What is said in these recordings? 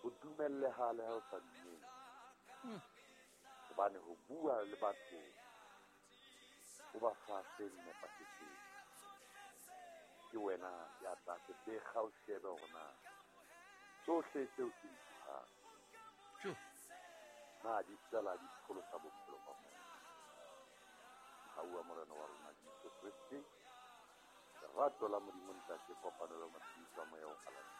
Ho dumelleha le ha o sa dumele. Hobane ho bua le batho o ba fa se nepahetseng. Ke wena ya tla se bekga o shebe hore na tsohle tseo ke di buang na di fela di pholosa bophelo ba motho. Mohau wa Morena wa rona Jesu Kreste, lerato la Modimo Ntate, kopanelo ya matshediso a Moya o Halalelang,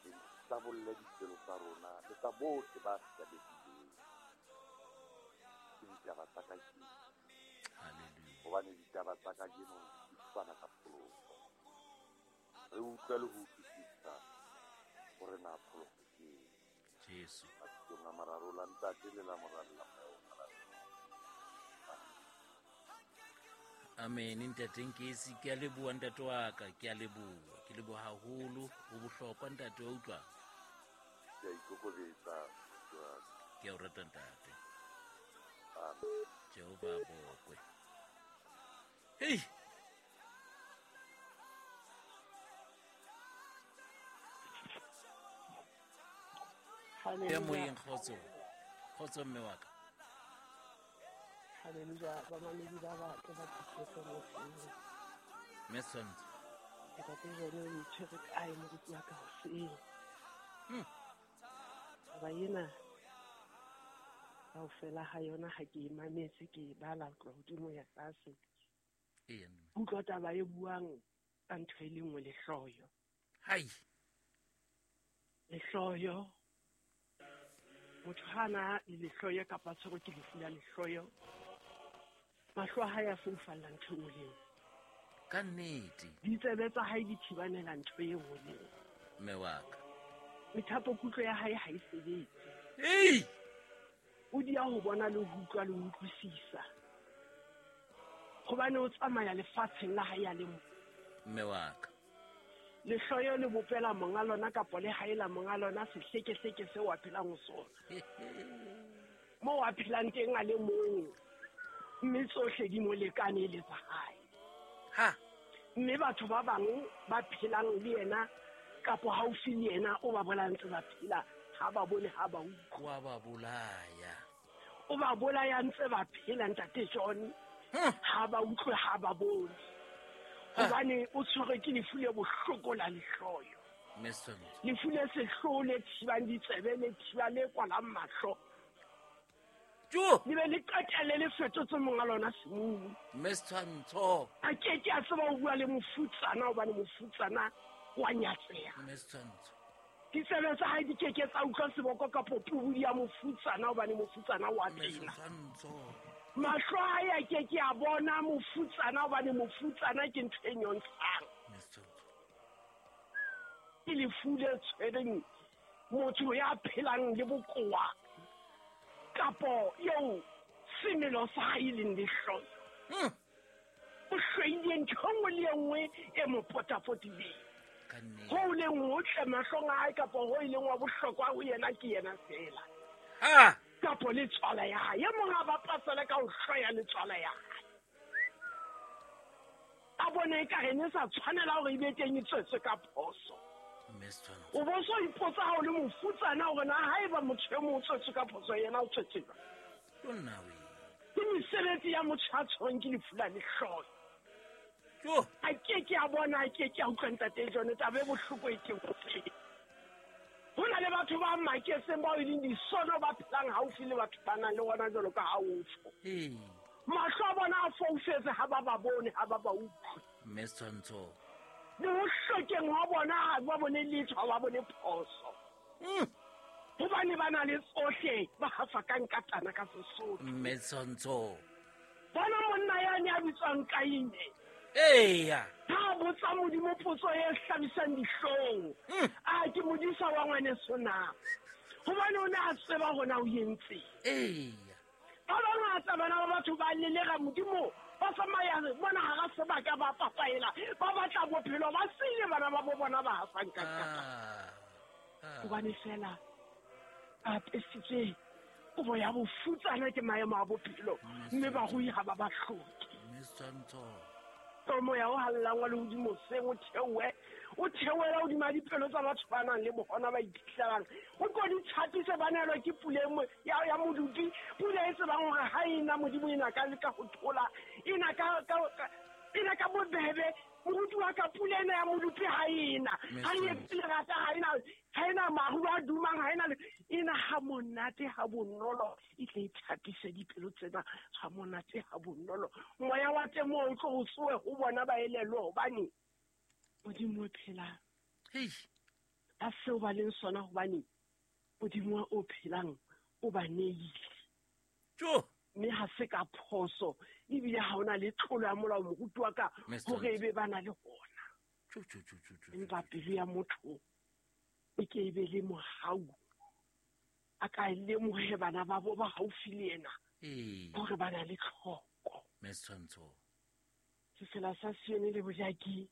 le hlabolle dipelo tsa rona le tsa bohle ba hlabehileng ke ditaba tsa kajeno. Hobane ditaba tsa kajeno di fana ka pholoso. Re utlwe le ho utlwisisa hore na pholoso ke eng. Jesu. Mabitsong a mararo la Ntate le la Mora le la Moya o Halalelang. Amen ntate Nkesi, ke a leboha ntate wa ka, ke a leboha, ke leboha haholo, o bohlokwa ntate wa utlwa. Ke a ikokobetsa. Ke a o rata ntate. Amen. Jehova a bokwe. Hei! Ya moyeng kgotso. Kgotso mme wa ka. Haleluya, bamamedi ba batle ba phethetse moseng. Mme Tshwantsho. Ntate Jone o itshwere kae moruti wa ka hoseng? Taba ena kaofela ha yona ha ke e mametse ke e bala ho tloha hodimo ho ya tlase. Eya mme. Utlwa taba e buang ka ntho e le nngwe, lehloyo. Hai. Lehloyo. Motho ha na le lehloyo kapa tshwerwe ke lefu la lehloyo, mahlo a hae a foufalla ntho e nngwe le e nngwe. Ka nnete. Ditsebe tsa hae di thibanela ntho e nngwe le e nngwe. Mme wa ka. Methapokutlo ya hae ha e sebetse. Ei! O dia ho bona le ho utlwa le ho utlwisisa. Hobane o tsamaya lefatsheng la hae a le mong. Mme wa ka. Lehloyo le bopela monga lona kapo le haela monga lona sehlekehleke seo a phelang ho sona. Moo a phelang teng a le mong, mme tsohle di mo lekane e le tsa hae. Ha! Mme batho ba bang ba phelang le yena kapo haufi le yena o ba bolaya ntse ba phela, ha ba bone, ha ba utlwe. Wa ba bolaya. O ba bolaya ntse ba phela ntate John. Ha ba utlwe, ha ba bone. Hobane o tshwerwe ke lefu le bohloko la lehloyo. Lefu le sehloho le thibang ditsebe, le thiba le kwalang mahlo. Le be le qetelle le fetotse monga lona semumu. Mme Setshwantsho. A ke ke a tseba ho bua le mofutsana hobane mofutsana wa nyatseha. Mme Setshwantsho. Ditsebe tsa hae di ke ke tsa utlwa seboko kapo pubudi ya mofutsana hobane mofutsana wa tena. Mahlo a hae a ke ke a bona mofutsana hobane mofutsana ke ntho e nyontshang. Ke lefu le tshwereng motho ya phelang le bokowa kapo eo semelo sa hae e leng lehloyo. O hloile ntho e nngwe le e nngwe e mo potapotileng. Ho leng hotle mahlong a hae kapa ho e leng wa bohlokwa ho yena ke yena feela. Kapo le tswala ya hae. E mong a bapasele ka ho hloya le tswala ya hae. A bone ekare ne sa tshwanela hore e be teng e tswetswe ka phoso. O bo so ipotsa ha o le mofutsana hore na haeba motho e mong o tswetswe ka phoso yena o tswetswe jwang. Ke mesebetsi ya motho ya tshwerweng ke lefu la lehloyo. A ke ke a bona, a ke ke a utlwa ntate John, taba e bohloko e teng hoseng. Ho na le batho ba maketseng bao e leng disono ba phelang haufi le batho ba nang le ona jwalo ka ha o tjho. Mahlo a bona a foufetse ha ba ba bone, ha ba ba utlwe. Mme Setshwantsho. Le ho hlokeng hwa bona ha ba bone letho, ha ba bone phoso. Hobane ba na le tsohle, ba hafa ka nkatana ka Sesotho. Mme Setshwantsho. Bona monna yane ya bitswang Kaine. Eya. Ha a botsa Modimo potso e hlabisang dihlong. A ke modisa wa ngwaneso na? Hobane o ne a tseba hona o entseng. Eya. Ba bangata bana ba batho ba lelera Modimo, ba tsamaya mona hara sebaka ba papaela, ba batla bophelo, ba siile bana ba bo bona ba hafang ka kapa. Hobane feela ba apesitswe kobo ya bofutsana ke maemo a bophelo, mme barui ha ba ba hloke. Moya o hallang wa lehodimo seng o theohe, O theohela hodima dipelo tsa batho ba nang le bohona ba iphihlalang. O ko di tshapise ba neelwa ke pula ya modupi, pula e tsebang hore ha e na Modimo e na ka ka ho thola, e na ka bobebe. Moruti wa ka pula ena ya modupi ha e na. Ha e etse lerata, ha ena maru a dumang, ha ena e na ha monate ha bonolo, e tle e thapise dipelo tsena ha monate ha bonolo. Moya wa temo o tlo o tsohe ho bona ba elellwe hobane Modimo o phelang. Ba seo ba leng sona hobane Modimo o phelang o ba neile. Mme ha se ka phoso, ebile ha ona le tlolo ya molao moruti wa ka hore ebe ba na le hona. Empa pelo ya motho e ke e be le mohau, a ka lemohe bana ba bo ba haufi le yena hore ba na le tlhoko. Sefela sa Sione le bojaki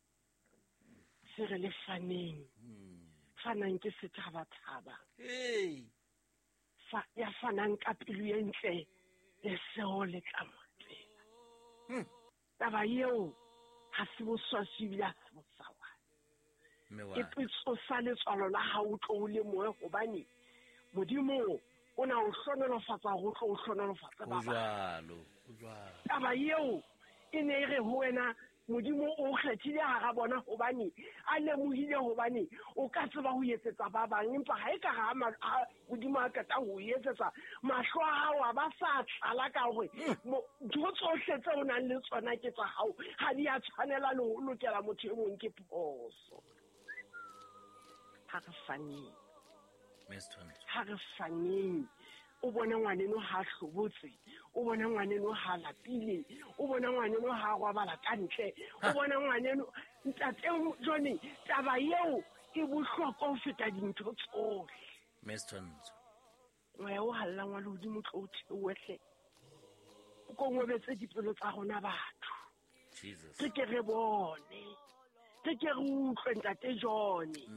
se re le faneng. Fanang ke sethabathaba. Ya fanang ka pelo e ntle, le seo le tla mo tlela. Taba eo ha se boswaswi ebile ha se bosawana. E tsosa letswalo la hao o tlo o lemohe hobane Modimo o na o hlohonolofatsa hore o tlo o hlohonolofatsa ba bang. Taba eo e ne e re ho wena Modimo o kgethile hara bona hobane a lemohile hobane o ka tseba ho etsetsa ba bang, empa ha e ka ha Modimo a qeta ho etsetsa mahlo a hao a ba sa tlala ka hore ntho tsohle tse o nang le tsona ke tsa hao, ha di a tshwanela le ho lokela motho e mong ke phoso. Ha re faneng. Ha re faneng. O bona ngwaneno ha hlobotse, o bona ngwaneno ha lapile, o bona ngwaneno ha robala ka ntle, o bona ngwaneno ntate Johnny, taba eo e bohlokwa ho feta dintho tsohle. Moya o hallang wa lehodimo tlo o theohe, o kongobetse dipelo tsa rona batho. Re ke re bone, re ke re utlwe ntate Johnny.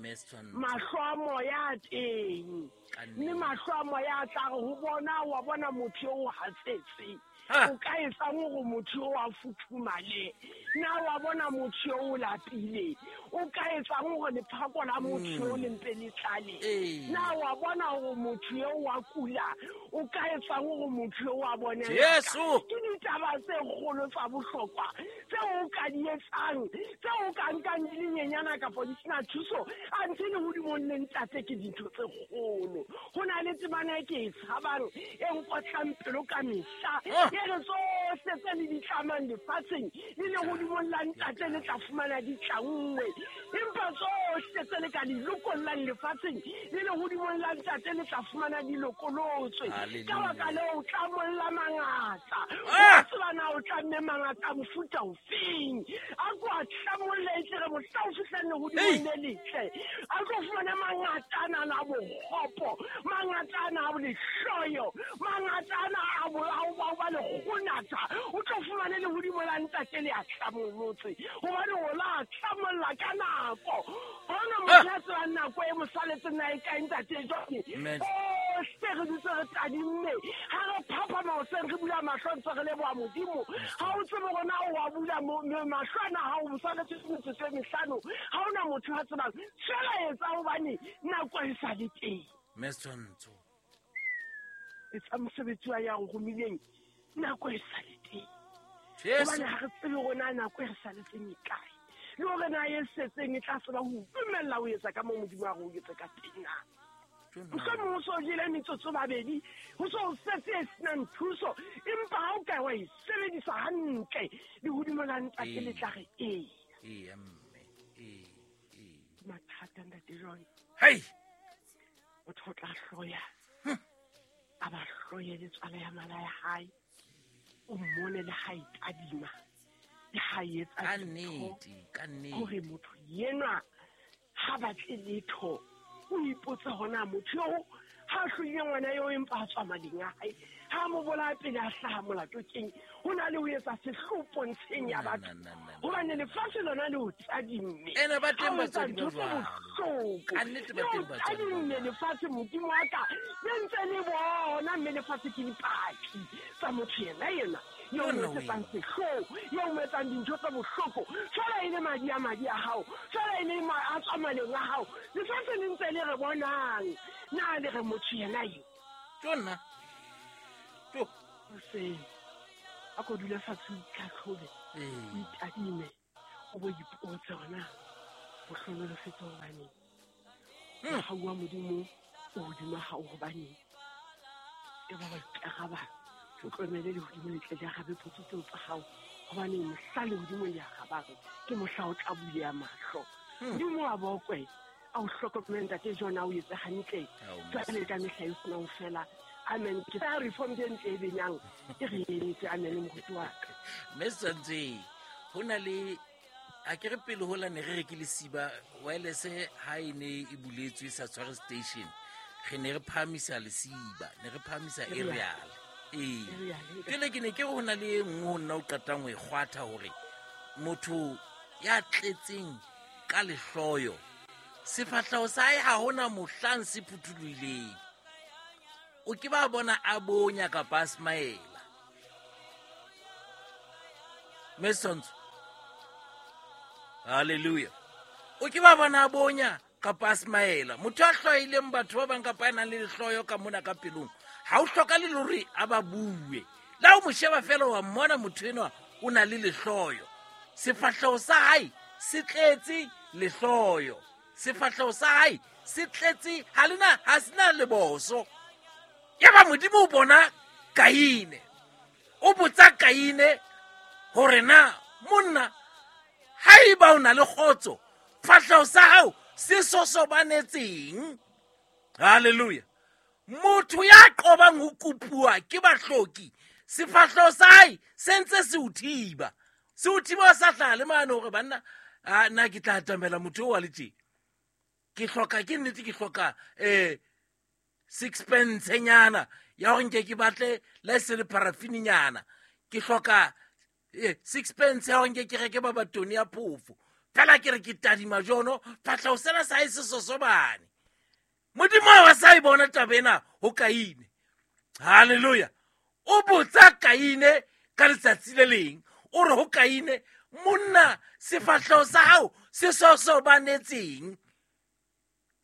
Mahlo a moya a teng, mme mahlo a moya a tla re ho bona, wa bona motho eo o hatsetse. O ka etsang hore motho eo a futhumale? Na wa bona motho eo o lapile? O ka etsang hore lephako la motho eo le mpe le tlale? Na wa bona hore motho eo wa kula? O ka etsang hore motho eo a bone? Ke ditaba tse kgolo tsa bohlokwa tseo o ka di etsang, tseo o ka nkang di le nyenyana kapa di sena thuso, anthe lehodimong le ntate ke dintho tse kgolo. Ho na le temana e ke e tshabang e nkotlang pelo ka mehla, e re tsohle tse le di tlamang lefatsheng le lehodimong la ntate le tla fumana di tlanngwe, empa tsohle tse le ka di lokollang lefatsheng le lehodimong la ntate le tla fumana di lokolotswe. Ka baka leo o tlamolla mangata, o tseba na o tlamme mangata mofuta ofeng. A ko a tlamolle e tle re mohla o fihlang lehodimong le letle, a tlo fumana mangata ana a bokgopo, mangata ana a lehloyo, mangata ana a ba lekgonatha, o tlo fumane lehodimo la ntate le a tlamolotse, hobane o la tlamolla ka nako. Hona motho ya tsebang nako e mo saletseng na e kae ntate Johnny? Ohle re dutse re tadimme, ha re phaphama hoseng re bula mahlo ntse re leboha Modimo. Ha o tsebe hore na o wa bula mahlo ana ha o saletse metsotso e mehlano, ha hona motho a tsebang. Feela etsa hobane nako e sa le teng. Etsa mosebetsi wa ya o romileng, nako e sa le teng. Hobane ha re tsebe hore na nako e re saletseng e kae, le hore na e setseng e tla tseba ho dumella ho etsa ka moo Modimo a re o etse ka teng na. Mohlomong o so jele metsotso babedi, ho so setse e senang thuso, empa ha o ka wa e sebedisa hantle, lehodimo la ntate le tla re ee. Mathata ntate John. Motho o tla hloya, a ba hloye le tswala ya mala ya hae, o mmone le ha e tadima, le ha e etsa dintho, hore motho yenwa ha batle letho. O ipotse hona motho eo ha hloile ngwana eo empa a tswa mading a hae, ha mo bolaya pele a hlaha molato keng? Ho na le ho etsa sehloho pontsheng ya batho, hobane lefatshe lona le o tadimme. Ha o etsa ntho tse bohloko, le o tadimme lefatshe, Modimo wa ka, le ntse le bona, mme lefatshe ke dipaki tsa motho yena yena. Eo mo etsetsang sehloho, eo mo etsang dintho tse bohloko. Jwale e le madi a madi a hao, jwale e le a tswa maleng a hao. Lefatshe le ntse le re bonang. Na le re motho yena eo? Tjo nna. Tjo. Hoseng, a ko dule fatshe o itlhatlhobe, o itadime, o bo ipotse hore na o hlohonolofetse hobaneng. Mohau wa Modimo o hodima hao hobaneng. E ba ba ikaraba, o tlohele lehodimo le tle le arabe potso tseo tsa hao. Hobaneng mohla lehodimo le arabang, ke mohla o tla buleha mahlo. Modimo wa bokwe, a o hlokomele ntate John, a o etse hantle. Jwale ka mehla e senang fela. Amen. Ke tsa reform e ntle e benyang, e re entse. Amen, moruti wa ka. Mme Setswantseng, ho na le a ke re pele hola ne re re ke lesiba wireless ha e ne e buletswe e sa tshware station, re ne re phahamisa lesiba, ne re phahamisa aerial. Ee. Jwale ke ne ke re ho na le e nngwe ho nna o qetang ho e kgwatha hore motho ya tletseng ka lehloyo, sefahleho sa hae ha hona mohlang se phuthulohileng. O ke ba bona a bonya kapa a smaela. Mme Setswantsho, hallelujah. O ke ba bona a bonya kapa a smaela. Motho a hloileng batho ba bang kapa a nang le lehloyo ka mona ka pelong, ha o hlokale le hore a ba bue. Le ha o mo sheba fela wa mmona motho enwa o na le lehloyo. Sefahleho sa hae se tletse lehloyo. Sefahleho sa hae se tletse, ha le na, ha se na leboso. Yaba Modimo o bona Kaine. O botsa Kaine hore na monna haeba o na le kgotso, fahleho sa hao se sosobanetseng. Hallelujah. Motho ya qobang ho kopuwa ke bahloki, sefahleho sa hae se ntse se o thiba. Se o thiba o sa hlaha le mane hore banna, a, nna ke tla atamela motho eo wa le tje. Ke hloka, ke nnete ke hloka, sixpence-nyana ya hore nke ke batle la e se le paraffin-nyana. Ke hloka, sixpence ya hore nke ke reke babatoni ya phofo. Fela ke re ke tadima jono, fahleho sena sa hae se sosobane. Modimo ha wa sa e bona taba ena ho Kaine. Hallelujah. O botsa Kaine ka letsatsi le leng. O re ho Kaine, monna, sefahleho sa hao se sosobanetseng.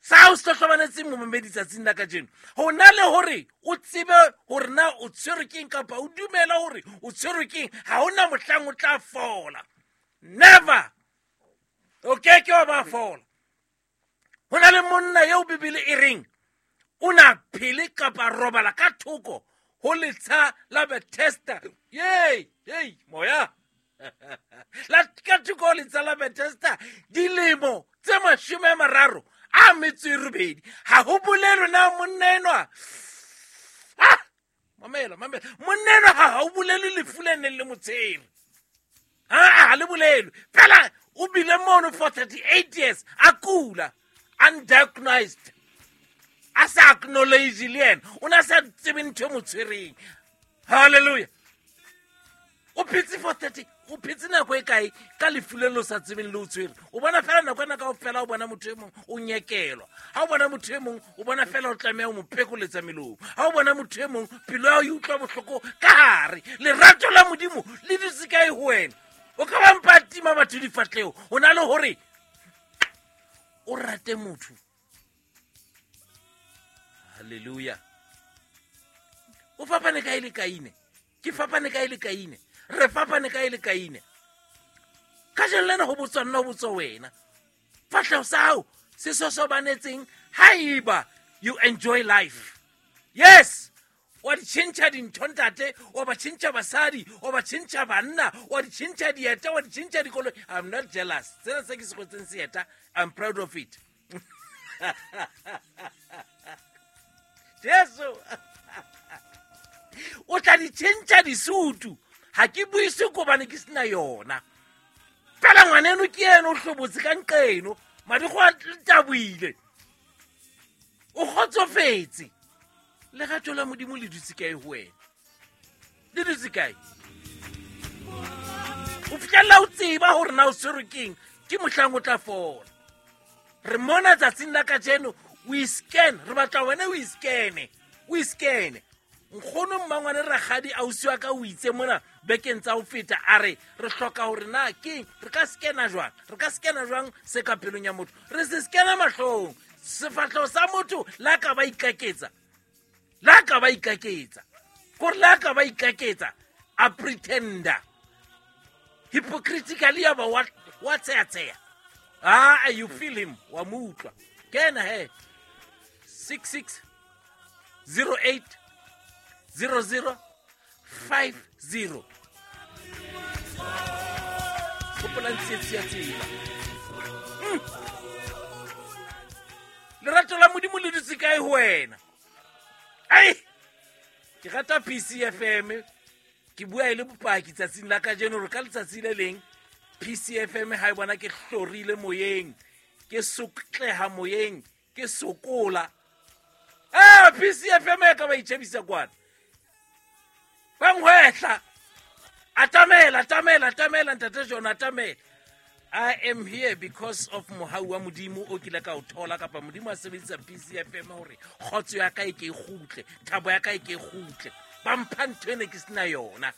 Sa hao se sosobanetseng momamedi tsatsing la kajeno. Ho na le hore o tsebe hore na o tshwerwe keng kapa o dumela hore o tshwerwe keng, ha hona mohlang o tla fola. Never. O ke ke wa ba fola. Ho na le monna eo Bibele e reng o na phele kapa robala ka thoko ho letsha la Bethesda. Yey, yey, moya. La ka thoko ho letsha la Bethesda dilemo tse mashome a mararo a metso e robedi. Ha ho bolelwe na monna enwa. Ah! Mamela, mamela. Monna enwa ha ho bolelwe lefu le neng le mo tshwere. Ha, ha le bolelwe. Fela o bile mono for 38 years a kula, undiagnosed. A sa acknowledge le yena. O ne a sa tsebe ntho e mo tshwereng. Hallelujah. O phetse for 30, o phetse nako e kae ka lefu le lo sa tsebeng le o tshwere. O bona fela nako ena kaofela o bona motho e mong o nyekelwa. Ha o bona motho e mong o bona fela o tlameha ho mo phekoletsa melomo. Ha o bona motho e mong pelo ya hao e utlwa bohloko ka hare. Lerato la Modimo le dutse kae ho wena? O ka ba mpa tima batho difahleho. O na le hore o rate motho. Hallelujah. O fapane kae le Kaine? Ke fapane kae le Kaine? Re fapane kae le Kaine? Kajeno lena ho botswa nna, ho botswa wena. Fahleho sa hao se sosobanetseng haeba you enjoy life. Yes, wa di tjhentjha dintho ntate, wa ba tjhentjha basadi, wa ba tjhentjha banna, wa di tjhentjha dieta, wa di tjhentjha dikoloi. I'm not jealous. Sena se ke se kwetseng seeta, I'm proud of it. Jesu. O tla di tjhentjha disutu. Ha ke buise kobane ke sena yona. Fela ngwaneno ke yena o hlobotse ka nqeno, madigo a taboile. O kgotsofetse. Lerato la Modimo le dutse kae ho wena? Le dutse kae? O fihlella o tseba hore na o tshwerwe keng, ke mohlang o tla fola. Re mona tsatsing la kajeno, o iscan, re batla wena o iscane, o iscane. Nkgono mmangwane rakgadi ausi wa ka o itse mona bekeng tsa ho feta, a re re hloka hore na keng re ka skena jwang, re ka skena jwang se ka pelong ya motho, re se skena mahlong. Sefahleho sa motho la ka ba ikaketsa, la ka ba ikaketsa, kore la ka ba ikaketsa, a pretender hypocritically, ya ba wa tseya-tseya. Ah, you feel him, wa mo utlwa. Kena he, 66 08 00 50. Hopolang tsietsi ya tsela. Lerato la Modimo le dutse kae ho wena? Ai, ke rata PCFM. Ke bua e le bopaki tsatsing la kajeno hore ka letsatsi le leng PCFM ha e bona ke hlorile moyeng, ke sokleha moyeng, ke sokola. PCFM e ka ba itjhebisa kwana. Ba ngwehla. Atamela, atamela, atamela, ntate John, atamela. I am here because of mohau wa Modimo o kile ka o thola, kapa Modimo a sebedisa PCFM hore kgotso ya ka e ke e kgutle, thabo ya ka e ke e kgutle. Ba mpha ntho ene ke sena yona.